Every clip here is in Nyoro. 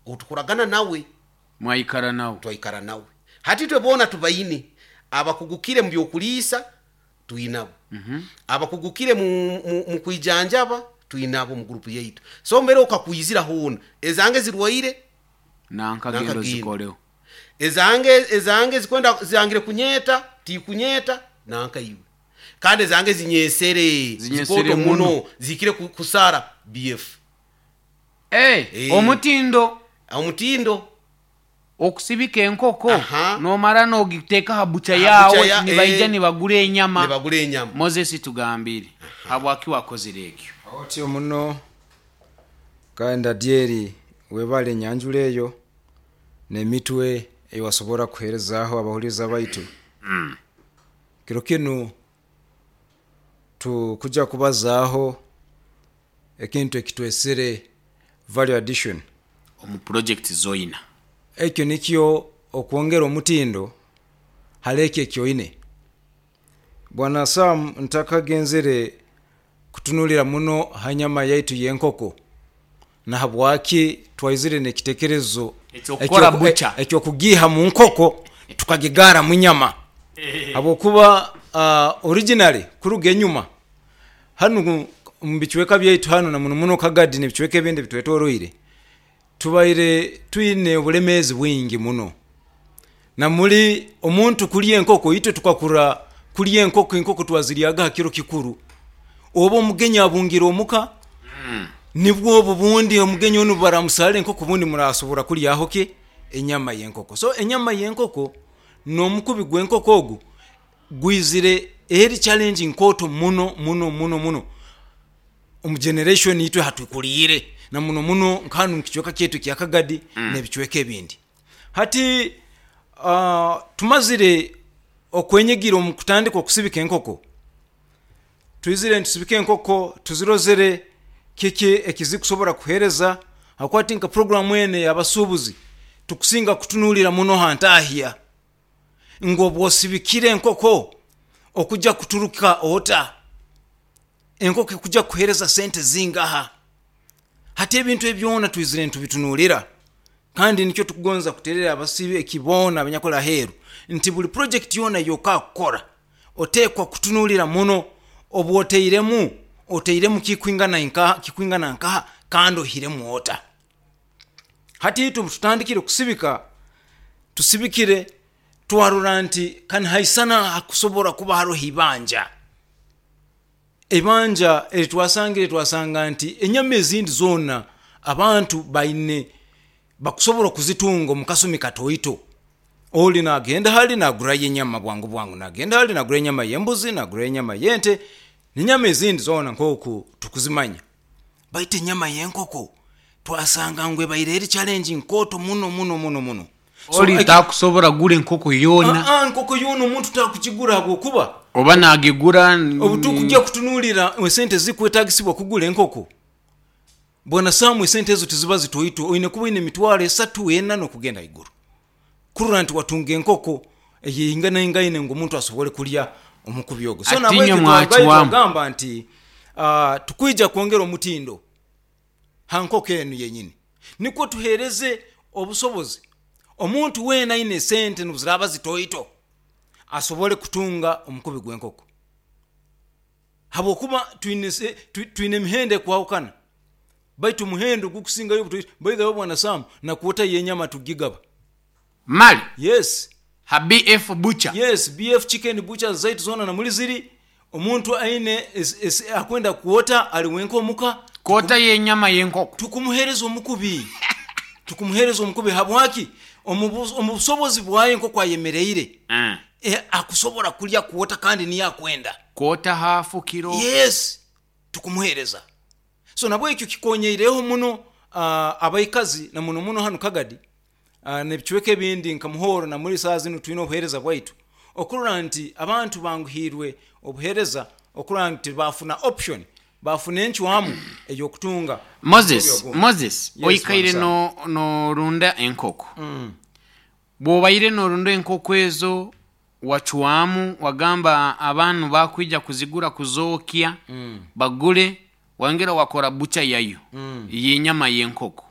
Otukoragana nawe. Mwaikara nawe. Twaikara nawe. Hati itwe boona tubaine abakugukire mu by'okuliisa, twinabo. Abakugukire mu kwijanjaba, twinabo mu gurupu yaitu. So mbere okakwizira hoona, ezange zirwaire, nanka genda Nanka genda. Ozikoleho. Ezange zikwenda zangire kunyeta, tikunyeta nanka iwe. Kandi ezange zinyesere, Zinyesere zikooto muno. muno, zihikire kusara BF. Omutindo. Omutindo. Okusibika enkoko nomara nogiteeka ha bucha Ha yawe, bucha nibaija nibagura enyama. Nibagura enyama. Moses, tugambire habwaki wakozire ekyo. Otyo muno, kandi Adyeri webale enyanjura eyo n'emitwe ei wasobora kuheerezaaho abahuliiriza baitu. Kiro kinu tukuja kubazaaho ekintu ekitwesere value addition. Omu project zoina. Ekyo nikyo okwongera omutindo hali ekyo eki oine. Bwana Sam, ntakagenzere kutunuulira muno ha nyama yaitu y'enkoko na habwaki twaizire n'ekitekerezo eky'okukora bucha. Eky'okugiiha mu nkoko tukagigaara mu nyama, habwokuba originally kuruga enyuma hanu omu bicweka byaitu hanu na muno muno Kagadi n'ebicweka ebindi ebitwetoroire, tubaire twine obulemeezi bwingi muno. Na muli omuntu kulya enkoko, itwe tukakura kulya enkoko, enkoko twaziryaga ha kiro kikuru. Oba omugenyi abungire omuka, nibwo obu bundi omugenyi onu baramusaara enkoko obundi murasobora kulyaho ki? Enyama y'enkoko. So enyama y'enkoko n'omukubi gw'enkoko ogu gwizire eri challenge nkooto muno muno muno muno omu generation itwe hatukuliire, na muno muno nka hanu omu kicweka kyaitu ekya Kagadi n'ebicweka ebindi. Hati tumazire okwenyigira omu kutandika okusibika enkoko, twizire nitusibika enkoko tuzirozere kiki ekizikusobora kuheereza, habwokuba hati nka puroguramu enu ey'abasuubuzi tukusinga kutunuulira muno ha ntahya ngu obu osibikire enkoko okuja kuturuka ota, enkoko ekuja kukuheereza sente zingaha. Hati ebintu ebi byona twizire nitubitunuulira, kandi nikyo tukugonza kuterera abasibiki boona abanyakuli aheeru nti buli purojekiti yoona ey'okakukora oteekwa kutunuulira muno obu otairemu, otairemu kikwingana inkaha, kikwingana nkaha kandi oihiremu ota. Hati itwe obu tutandikire kusibika, tusibikire twarora nti kanihaisana hakusobora kuba haroho ibanja. Eibanja eri twasangire, twasanga nti enyama ezindi zoona abantu baine bakusobora kuzitunga omu kasumi katoito. Oli nagenda hali nagurayo enyama bwangu bwangu, nagenda hali nagurayo enyama y'embuzi, nagurayo enyama y'ente, n'enyama ezindi zoona nk'oku tukuzimanya. Baitu enyama y'enkoko twasanga ngu ebaire eri challenge nkooto muno muno muno muno. So Oli takusobora kugura enkoko yoona. Enkoko yoona omuntu takugigura habwokuba Oba nagigura. Obu tukugya kutunuulira esente ezikwetagisibwa kugura enkoko, Bwana Sam, esente ezo tiziba zitoito, oine kuba oine emitwaro esatu, ena n'okugenda haiguru kurora nti watunga enkoko eyeinganaingaine ngu omuntu asobole kulya omukubi ogwo. So Ati nahabwekyo inywe twarugayo mwacwamu. twagamba nti tukwija kwongera omutindo ha nkoko enu yenyini nikwo tuheereze obusobozi omuntu weena aine esente n'obu ziraaba zitoito asobole kutunga omukubi gw'enkoko, habwokuba twine emihendo ekwahukana, baitu omuhendo ogukusingayo obutoito, by the way Bwana Sam, na kwota y'enyama tugigaba. Mali? Yes. Ha BF Butcher? Yes, BF Chicken Butchers zaitu zoona na muli ziri, omuntu aine akwenda kwota ali wenka omuka, Kwota y'enyama y'enkoko. Tukumuheereza omukubi. Tukumuheereza omukubi habwaki? Omu busobozi bwaye nk'oku ayemereire, akusobora kulya kwota kandi niyo akwenda. Kwota hafu kiro. Yes, tukumuheereza. So nabwekyo kikonyeireho muno abaikazi na muno muno hanu Kagadi n'ebicweka ebindi nka Muhoro na muri saaha zinu twine obuheereza bwaitu okurora nti abantu banguhiirwe obuheereza okurora nti baafuna option, baafuna encwamu ey'okutunga Moses, omukubi ogundi. Moses, Yes, oikaire Bwana Sam. norunda enkoko. Bw'obaire norunda enkoko ezo, wacwamu wagamba abantu bakwija kuzigura kuzookya, bagule, wayongera wakora bucha yayo y'enyama y'enkoko.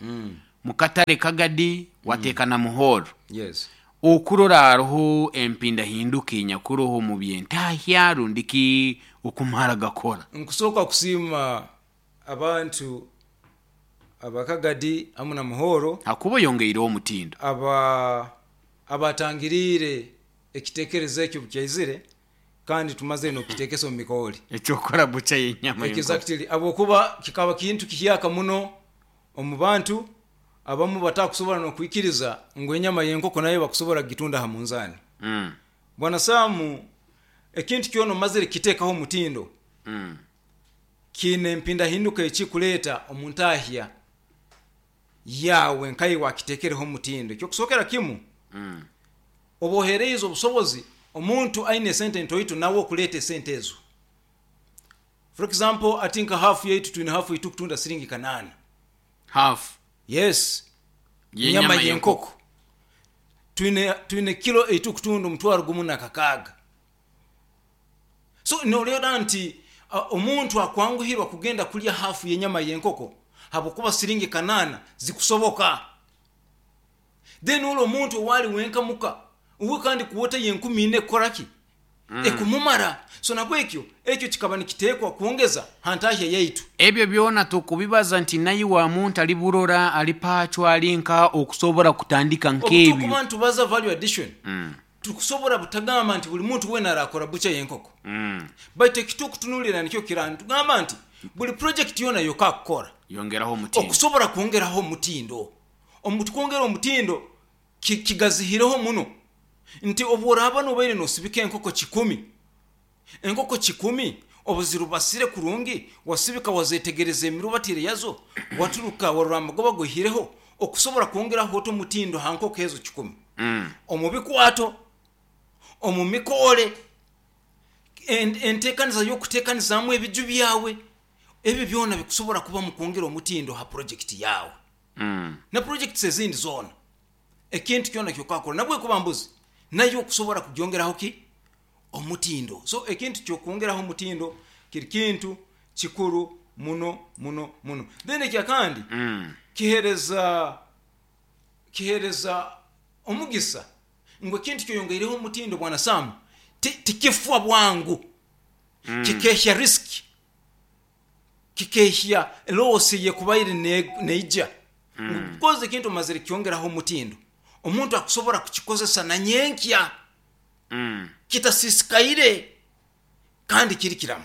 Mukatale Kagadi wateeka na Muhoro. Yes. Okurora hariho empindahinduka enyakuroho mu byentahya rundiki okumara gakora? Nkusooka kusiima abantu abakagadi hamu na Muhoro hakuba oyongeireho omutindo abatangiriire ekitekerezo ekyo bukyaizire, kandi tumazire n'okukitekesa omu mikooli. Ekyokora bucha y'enyama y'enkoko. Exactly, habwokuba kikaba kintu kihyaka muno omu bantu abamu, batakusobora n'okwikiriza ngu enyama y'enkoko nayo bakusobora kugitunda ha munzani. Bwana Samu, ekintu kyona omazire kukiteekaho omutindo, kiine empindahinduka ekikuleeta omu ntahya yawe nkaye wakiteekereho omutindo. Ekyokusookera kimu, oba oheereize obusobozi omuntu aine esente ntoito nawe okuleeta esente ezo. For example, ati nka hafu yaitu, twine hafu yaitu kutunda siringi 800. Hafu? Yes. Y'enyama Enyama y'enkoko. Y'enkoko twine kilo eitukutunda 1,600. So noreeba nti omuntu akwanguhirwa kugenda kulya hafu y'enyama y'enkoko habwokuba siringi 800 zikusoboka. Then ori omuntu owali wenka muka uwe, kandi kuwota ye 4,000 ekukoraki? Ekumumara. So nabwekyo ekyo kikaba nikiteekwa kwongeza ha ntahya yaitu. Ebyo byona tukubibaza nti naye wa muntu ali burora, ali pacho, ali nka okusobora kutandika nk'ebyo. Obutukuba nitubaza value addition, tukusobora butagamba nti buli muntu wena arakora bucha y'enkoko, baitu ekitukutunulira nikyo kira nitugamba nti buli project yona yokakukora, yongeraho omutindo. Okusobora kwongeraho omutindo. Omutukwongera omutindo kigazihireho muno nti obworaba nobaire nosibika enkoko 1,000, enkoko 1,000 obuzirubasire kurungi, wasibika, wazetegereza emirubatire yazo, waturuka warora amagoba goihireho, okusobora kwongeraho ota omutindo ha nkoko ezo 1,000, omu bikwato, omu mikoore, entekaniza y'okutekanizaamu ebiju byawe, ebyo byona bikusobora kuba mu kwongera omutindo ha project yawe na projects ezindi zoona. Ekintu kyona kyokakora, nabwe kuba mbuzi, nayo okusobora kugyongeraho ki omutindo. So ekintu kyokwongeraho omutindo kiri kintu kikuru muno muno muno. Then ekyakandi, kihereza omugisa ngu ekintu kyoyongeireho omutindo, bwana Samu, tikifwa bwangu, kikehya risk, kikehya loss yekubaire neija, because ekintu omazire kyongeraho omutindo, omuntu akusobora kukikozesa na nyenkya kitasisikaire kandi kiri kiramu.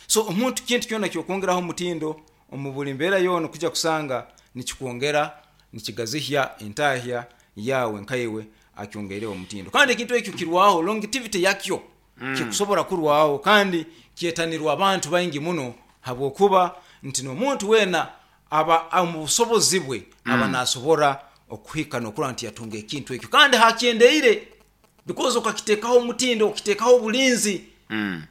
So omuntu kintu kyona kyokwongeraho omutindo omu buli mbeera yoona, okujja kusanga nikikwongera, nikigazihya entahya yawe nkaiwe akyongeireho omutindo. Kandi ekintu ekyo kirwaho, longevity yakyo kikusobora kurwaho, kandi kyetanirwa abantu baingi muno, habwokuba nti n'omuntu weena aba omu busobozi bwe aba nasobora okuhika n'okurora nti yatunga ekintu ekyo, kandi hakyendeire because okakiteekaho omutindo, okiteekaho obulinzi.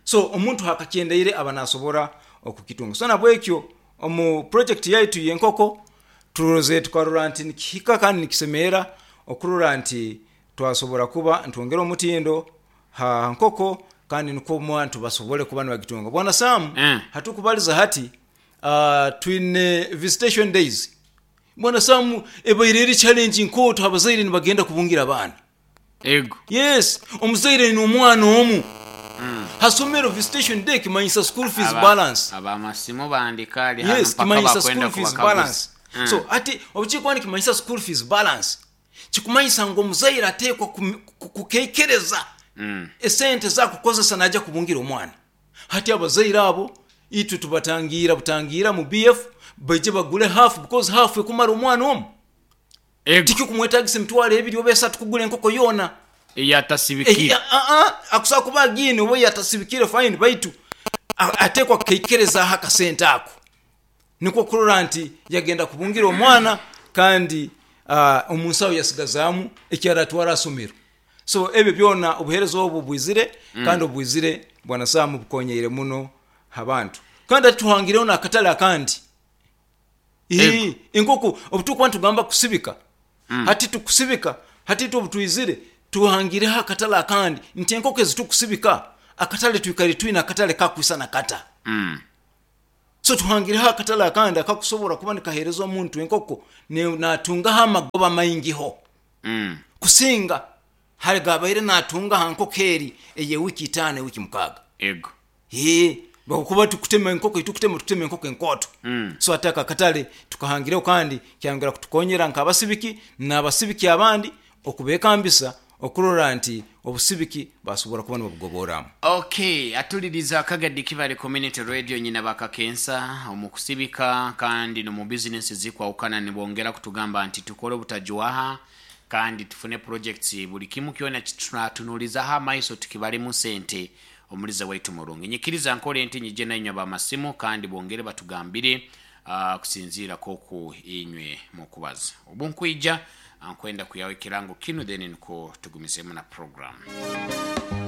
So omuntu hakakyendeire aba nasobora okukitunga. So nabwekyo omu project yaitu y'enkoko turoze, tukarora nti nikihika kandi nikisemeera okurora nti twasobora kuba ntwongera omutindo ha nkoko, kandi nikwo omuntu basobole kuba nibagitunga. Bwana Samu, hatukubaliza hati, twine visitation days. Bwana Samu, ebaire eri challenge nkooto abazaire nibagenda kubungira abaana. Ego. Yes, omuzaire aine omwana omu hasomero, visitation day kimanyisa school fees balance. Abamasimu bandika ali hano Yes, mpaka kimanyisa bakwenda school fees kubakaguza. balance. So ati obukikuba nikimanyisa school fees balance, kikumanyisa ngu omuzaire ateekwa kukekereza esente zakukozesa najja kubungira omwana. Hati abazaire abo itwe tubatangira butangira mu BF baije bagule half, because half ekumara omwana omu. Ego. Tikikumwetagisa 20,000 oba 3,000 kugula enkoko yoona. Eyatasibikire. Akusobola kuba agiine oba yatasibikire, fine, baitu ateekwa kukeikerezaho akasente ako nikwo kurora nti yagenda kubungira omwana, kandi omunsaho yasigazaamu ekyaratwara asomero. So ebyo byona, obuheereza obu bwizire, kandi obwizire, bwana Samu, bukonyeire muno abantu. Kandi ati tuhangireho n'akatale akandi. Ego. Enkoko obutukuba nitugamba kusibika, hati tukusibika, hati itwe obutwizire tuhangireho akatale akandi nti enkoko ezi tukusibika, akatale twikare twine akatale kakwisana kata. So tuhangireho akatale akandi akakusobora kuba nikaheereza omuntu enkoko natungaho amagoba maingiho kusinga hali gabaire natunga ha nkoko eri eyewiki 5, ewiki 6. Ego. Ee, bakuba tukutema enkoko, tukutema enkoko enkooto. So ataka akatale tukahangireho, kandi kyongera kutukonyera nk'abasibiki n'abasibiki abandi okubekambisa okurora nti obusibiki basobora kuba nibabugoboramu. Okay, atuliriza Akagadi Kibale Community Radio, nyina bakakensa omu kusibika kandi nomu bizinesi zikwawukana, nibongera kutugamba nti tukole obutajwaha kandi tufune projects, buli kimu kyona kitunatunulizaho amaiso tukibalemu sente. Omuliza waitu murungi, nyikiriza nkole nti nyije nainywe bamasimu kandi bongere batugambire kusinziira koku inywe mukubaza obu nkwija nkwenda kuyaho ekirango kinu, then niko tugumizemu na program.